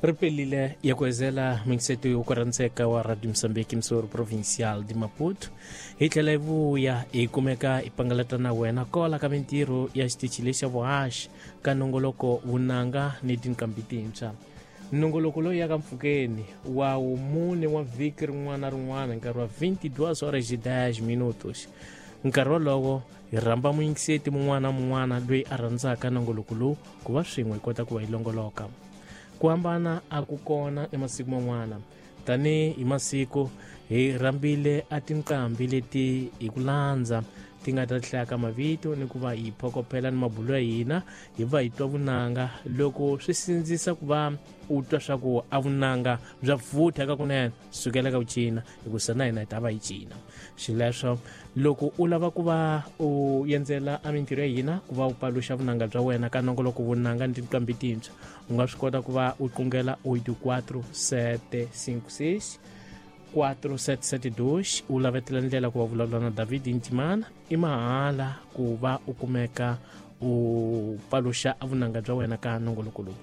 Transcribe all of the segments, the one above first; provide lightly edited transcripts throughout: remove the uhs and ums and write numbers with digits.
Ri pelile ya ku ezela mingiseto yo ku wa Radio Mozambique Msoro Provincial de Maputo. Hi tlhela hi vuya hi kumeka hi pangalata na wena kola ka mintirho ya xitichi lexa vuhaxi ka nongoloko vunanga ni tinqambi tintshwa. Nongoloko lowu yaka mpfhukeni wa wumune wa vhiki rin'wana na rin'wana nkarhi wa 22 horas e 10 minutos. Nkarhi wolowo hi rhamba muyingiseti mun'wana na mun'wana loyi a rhandzaka nongoloko lowu ku va swin'we hi kota ku va hi longoloka. Ku hambana a ku kona emasiku man'wana. Tanihi hi masiku hi rhambile a tinqambi leti hi ku landza ti nga ta hlaya ka mavito ni ku va hi phokophela ni mabulo ya hina hi va hi twa vunanga. Loko swi sindzisa ku va u twa swa ku a vunanga bya vutha ka kunene, sukela ka ku cina, hikusa na hina hi ta va hi cina. Xileswo loko u lava ku va u endzela a mintirho ya hina ku va u paluxa vunanga bya wena ka nongoloko vunanga ni tinqambi tintshwa, u nga swi kota ku va u qungela 84 756 4772, u lavetela ndlela ku va vulavula na David Ntimana. I mahala ku va u kumeka u paluxa vunanga bya wena ka nongoloko lowu.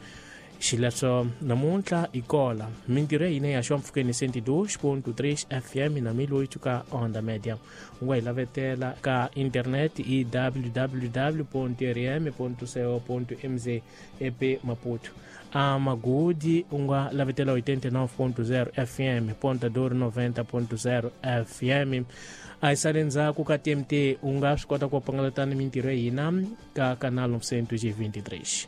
Xileswo namuntlha hi kola mintirho ya hina ya xwa mpfhukeni 102.3 FM na 1008 ka Onda Media. U nga hi lavetela ka internet i www.rm.co.mz ep Maputo. A Magudi u nga lavetela 89.0 FM, Ponta Dor 90.0 FM. A hi sale ndzhaku ka TMT, u nga swi kota ku pangalata ni mintirho ya hina ka canal 923.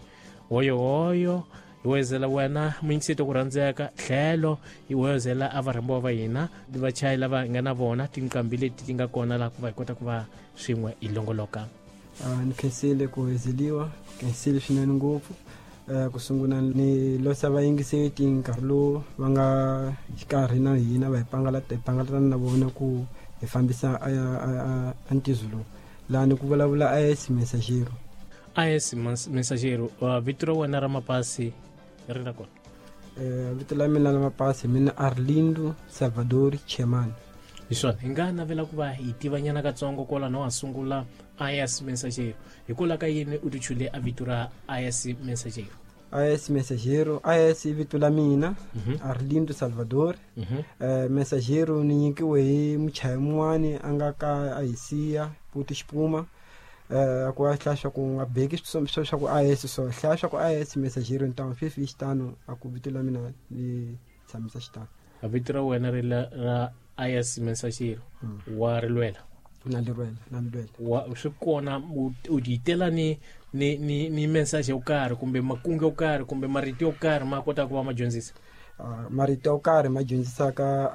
Hoyohoyo hi wezela wena muyingiseti ku rhandzeka, tlhelo hi wezela a varhambiwa va hina vachayi lava hi nga na vona, tinqambi leti ti nga kona laha ku va hi kota ku va swin'we hi longoloka. Ni khensile ku hezeliwa, khensile swinene ngopfu. Ku sungula ni losa vayingiseti nkarhi lowu va nga xikarhi na hina, va hi pangalata, hi pangalatana na vona ku hi fambisa a ntizo lowu. Laha ni ku vulavula AS Messagero. AS Messagero, vito ra wena ra mapasi ri na kona? Vito la mina la mapasi mina Arlindo Salvador Chemani. Hi swona, hi nga navela ku va hi tivanyana katsongo kwalano wa sungula AS Messagero. Hikwalaho ka yini u tichule a vito ra AS Messagero? AS Messagero, AS i vito la mina, Arlindo Salvador. Messagero ni nyikiwe hi muchayi mun'wani a nga ka a hi siya, Puti Xipuma. Ku a hlaya swa ku nga beki swa swa ku AS, so hlaya swa ku AS Messagero ntamu fifi hi xitano, a ku vito la mina ni tshamisa xitano. A vito ra wena ri la ra AS Messagero wa ri lwela? Na li lwela, na li lwela. Wa swi kona u titela ni message yo karhi kumbe makungu yo karhi kumbe marito yo karhi ma kota ku va ma dyondzisa? Marito yo karhi ma dyondzisaka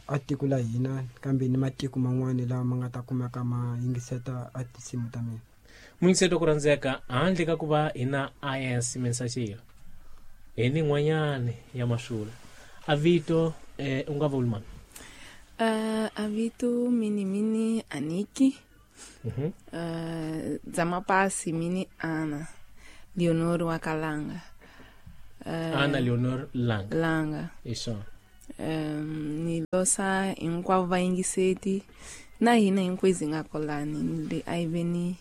a tiko la hina kambe ni matiko man'wani lawa ma nga ta kumeka ma yingiseta a tinsimu ta mina. Muyingiseto ku rhandzeka, handle ka ku va hi na AS Messagero hi ni n'wanyani ya masula. A vito u nga vuli mani? A vito mini mini Aniki. Dza mapasi mini Ana Leonor wa Kalanga. Ana Leonor Langa. Langa. Hi swona. Ni losa hinkwavo vayingiseti na hina hinkwezi hi nga kolani ni le a yi ve ni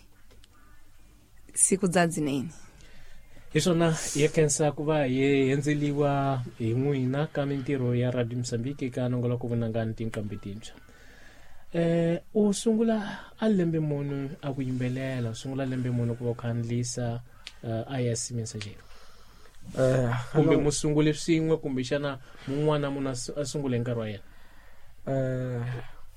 siku bya dzinene. Hi swona, hi khensa ku va hi endzeliwa hi n'wina ka mintirho ya Radio Mozambique ka nongoloko vunanga ni tinqambi tintshwa. U sungula a lembe muni a ku yimbelela, u sungula lembe muni ku va u khandlisa AS Messagero? Kumbe mu sungule swin'we kumbe xana mun'wana munhu a sungule hi nkarhi wa yena?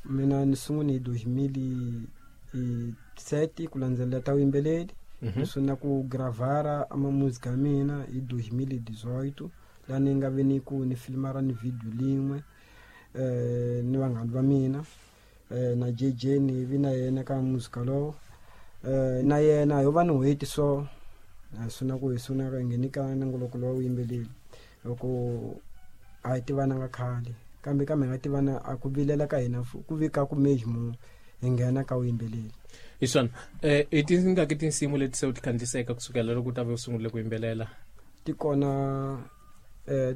Mina ni sungule hi 2007 ku landzelela ta vuyimbeleri. Ni sungula ku gravara ama music ya mina hi 2018, laha ni nga ve ni ku ni filmara ni video lin'we ni vanghana va mina, na JJ ni vi na yena ka music lowo. Na yena ho va ni n'hweti so a sungula ku hi sungula hi ngheni ka nongoloko lowa vuyimbeleri, loko a hi tivananga khale kambe kambe hi nga tivana a ku vilela ka hina ku vika ku mejmo hi nghena ka vuyimbeleri. Hi swona. I tingaki tinsimu leti se u ti khandziyiseke kusukela loko u ta ve u sungule ku yimbelela? Ti kona,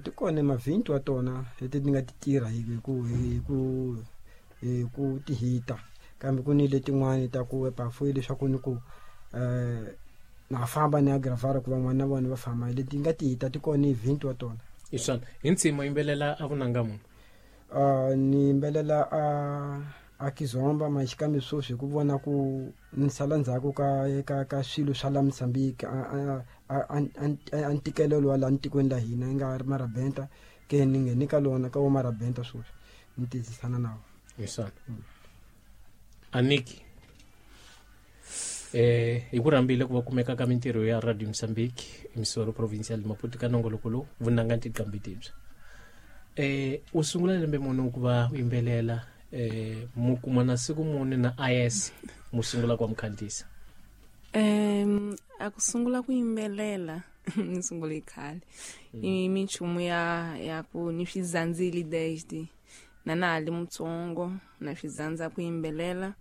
ti kona mavhinti wa tona leti ti nga ti tirha hi ku ti hita, kambe ku ni letin'wani ta ku epafu leswaku ni ku na famba ni ya gravara ku van'wana na vona va famba, leti nga ti hita ti kona hi 20 wa tona. Hi swona hi ntsima yimbelela a vunanga munhu. Ni yimbelela a kizomba maxikambe sweswi hi ku vona ku ni sala ndzhaku ka swilo swa la Mozambique a ntikelelo wa laha tikweni la hina yi nga ri marabenta ke ni ngheni ka lona ka wo marabenta sweswi ni tiyisisana na wona. Hi swona aniki hi ku rhambile ku va kumeka ka mintirho ya Radio Mozambique emisoro provincial Maputo ka nongoloko lowu vunanga tiqambi tibya. U sungula lembe muni ku va u yimbelela mu kuma na siku muni na IS mu sungula ku mukhandisa? A ku sungula ku yimbelela ni sungule khale i minchumu ya ku ni swizandzile desde na na ali mutsongo na swizandza ku yimbelela.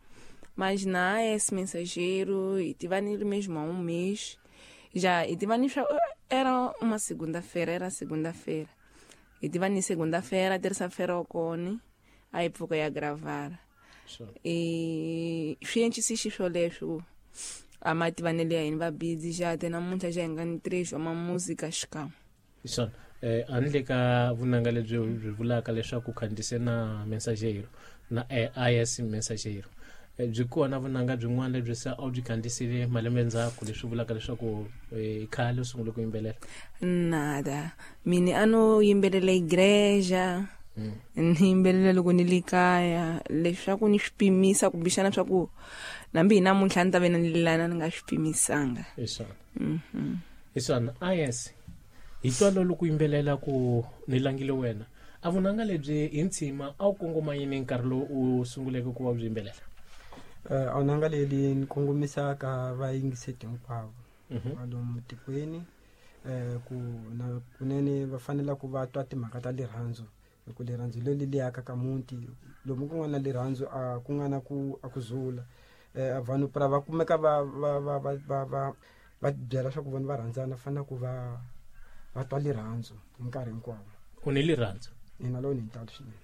Mas na AS Mensageiro e tivanile mesmo há um mês já e tivani era uma segunda-feira, era segunda-feira e tivani segunda-feira, terça-feira okoni a época ya gravar. E swi xiswoleswo a mativanele ya hina va busy já até namuntlha já hi nga ni três uma música xikan'we. Swona handle ka vunanga lebyi byi vulaka leswaku khandzise na Mensageiro na IS Mensageiro byi kona vunanga byin'wana lebyi se a wu byi khandzisile malembe ndzhaku leswi vulaka leswaku khale u sungule ku yimbelela? Nada, mina a no yimbelela igreja ni yimbelela loko ni le kaya leswaku ni swi pimisa kumbexana swa ku nambi hi namuntlha ni ta ve na ni lelana ni nga swi pimisanga. Hi swona. Hi swona IS hi twa loko yimbelela ku ni langile wena a vunanga lebyi hi ntshima a wu kongoma yini nkarhi lowu u sunguleke ku va u byi yimbelela? A vunanga leli ni kongomisa ka vayingiseti hinkwavo va lomu tikweni ku na kunene va fanele ku va twa timhaka ta rirhandzu hi ku rirhandzu leri li akaka muti lomu ku nga na rirhandzu a ku nga na ku a ku zula vanhu pra va kumeka va va va va va va va byela swa ku vona va rhandzana fanele ku va va twa rirhandzu hi nkarhi hinkwawo. U ni rirhandzu? Ina, lowu ni ntalo swinene.